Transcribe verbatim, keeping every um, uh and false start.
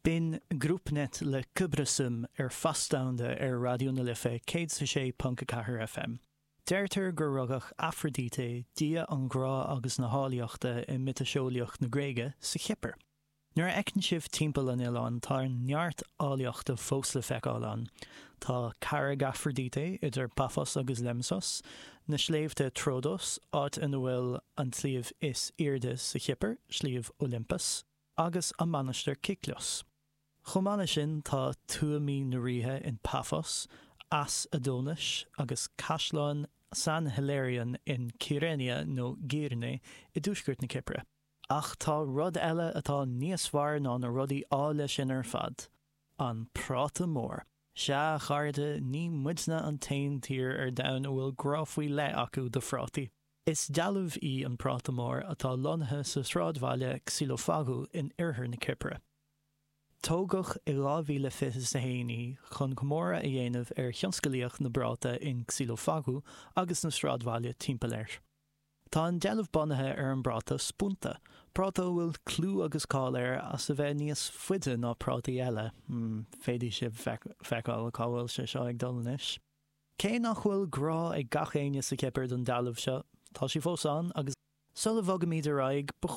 B'in GroupNet le Kıbrısım ar Fás Domhanda ar Raidió na Life céad a sé ponc a ceathair FM. Deirtear gur rugadh Afraidíté, dia an ghrá agus na háilleachta i miotaseolaíocht na Gréige, sa Chipir. Nuair a fhéachann sibh timpeall an oileáin tá neart áilleachta fós le feiceáil ann. Tá Carraig Afraidíté idir Paphos agus Lemesos, na sléibhte Troodos, áit ina bhfuil an sliabh is airde sa Chipir, Sliabh Olympus, agus an Mainistir Kykkos. Chomh maith leis sin tá tuamaí na ríthe in Paphos, Eas Adonis agus Caisleán San Hilarion in Kyrenia nó Girne i dtuaisceart na Cipire. Ach tá rud eile atá níos fearr ná na rudaí áille sin ar fad. An práta mór. Sea a chairde ní muidne an t-aon tír ar domhan a bhfuil grá faoi leith acu do phrátaí. Is dealbh í an práta mór atá lonnaithe sa sráidbhaile Xylofagou in oirthear na Cipire. Tógadh i dhá mhíle fiche a haon í chun comóradh a dhéanamh ar thionsclaíocht na bprátaí in Xylofagou agus na sráidbhaile timpeall air. Tá an dealbh bunaithe ar an bpráta spunta, práta a bhfuil clú agus cáil air as a bheith níos faide ná prátaí eile. Hmm, féadfaidh sibh feiceáil cá bhfuil sé seo ag dul anois. Cé nach bhfuil grá ag gach éinne sa Chipir don dealbh seo, tá sí fós ann agus sula bhfogaimid ar aghaidh, ba chóir